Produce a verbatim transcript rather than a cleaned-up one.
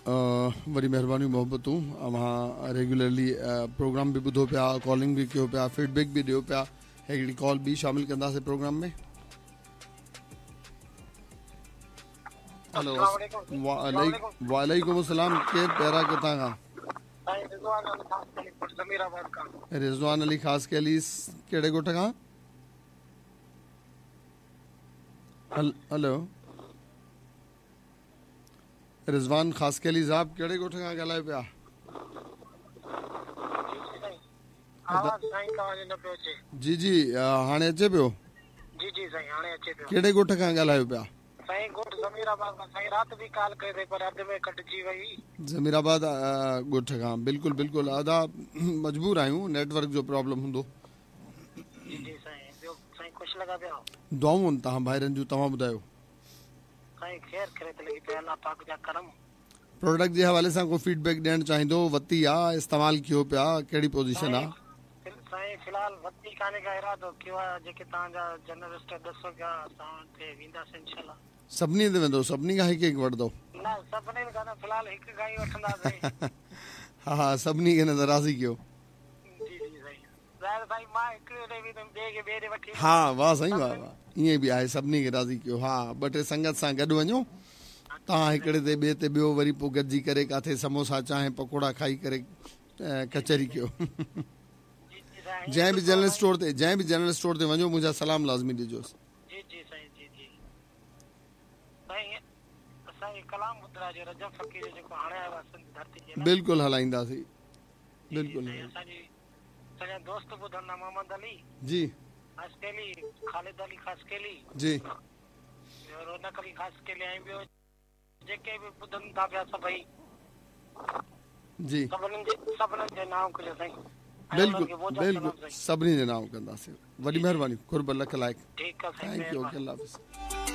वॾी महिरबानी मोहबतूं। अव्हां रेगुलरली प्रोग्राम बि ॿुधो पिया, कॉलिंग बि कयो पिया, फीडबैक बि ॾियो पिया। हिकिड़ी कॉल ॿी शामिल कंदासीं प्रोग्राम में। हेलो, वालेकुम अस्सलाम। केरु प्यारा, किथां खां? रिज़वान अली ख़ास केली, कहिड़े ॻोठ खां? हेलो रिज़वान ख़ासकेली साहब, कहिड़े ॻोठ खां ॻाल्हायो पिया? जी जी, हाणे अचे पियो? जी जी साईं, हाणे अचे पियो। कहिड़े ॻोठ खां ॻाल्हायो पिया? साईं ॻोठ ज़मीराबाद खां। साईं राति बि कॉल कई अथई पर अध में कटिजी वई। ज़मीराबाद ॻोठ खां, बिल्कुलु बिल्कुलु। अदा मजबूर आहियूं, नेटवर्क जो प्रॉब्लम हूंदो। जी जी साईं, ॿियो साईं ख़ुशि लॻा पिया? दुआऊं आहिनि तव्हां भाइरनि जूं, तव्हां ॿुधायो? साईं ख़ैर ख़ैरियत लॻी पई, अलाह पाक जा करम। प्रोडक्ट जे हवाले सां को फीडबैक ॾियणु चाहींदो? वती आहे, इस्तेमालु कयो पिया, कहिड़ी पोज़ीशन आहे? साईं फ़िलहाल वती कान्हे का इरादो कयो आहे, जेके तव्हांजा जनरल स्टोर ॾसो पिया असां ते वेंदासीं इंशाअल्लाह। सभिनी ते वेंदो? सभिनी खां हिकु हिकु वठंदो? न, सभिनी खां न, फ़िलहाल हिकु खां ई वठंदासीं। हा हा, सभिनी खे न त राज़ी कयो। जी जी साईं, ज़ाहिर साईं मां हिकिड़े ॾे वेंदुमि, ॿिए खे ॿिए ॾे वठी। हा वाह साईं वाह वाह, ईअं बि आहे, सभिनी खे राज़ी कयो। हा, ॿ टे संगत सां गॾु वञो तव्हां, हिकिड़े ते ॿिए ते ॿियो, वरी पोइ गॾिजी करे किथे समोसा चांहि पकौड़ा खाई करे कचहरी कयो। जंहिं बि जनरल स्टोर ते, जंहिं बि जनरल स्टोर ते वञो, मुंहिंजा सलाम लाज़मी ॾिजोसि। जी जी साईं, जी जी साईं, असांखे कलाम ॿुधाइजो रजब फ़क़ीर जो, जेको हाणे आयो आहे सिंध धरती जे। बिल्कुलु हलाईंदासीं, बिल्कुलु। असांजी असांजा दोस्त ॿुधंदा, मोहम्मद अली जी ख़ासकेली, ख़ालिद अली ख़ासकेली जी, रौनक अली ख़ासकेली, ऐं ॿियो जेके बि ॿुधनि था पिया सभई जी, सभिनीनि जे सभिनीनि जे नांव कजो साईं। बिल्कुलु बिल्कुलु, सभिनी जे नांव कंदासीं। वॾी महिरबानी, क़ुर्ब, लख लाइक़। ठीकु आहे। Thank you, okay, अल्लाह हाफ़िज़।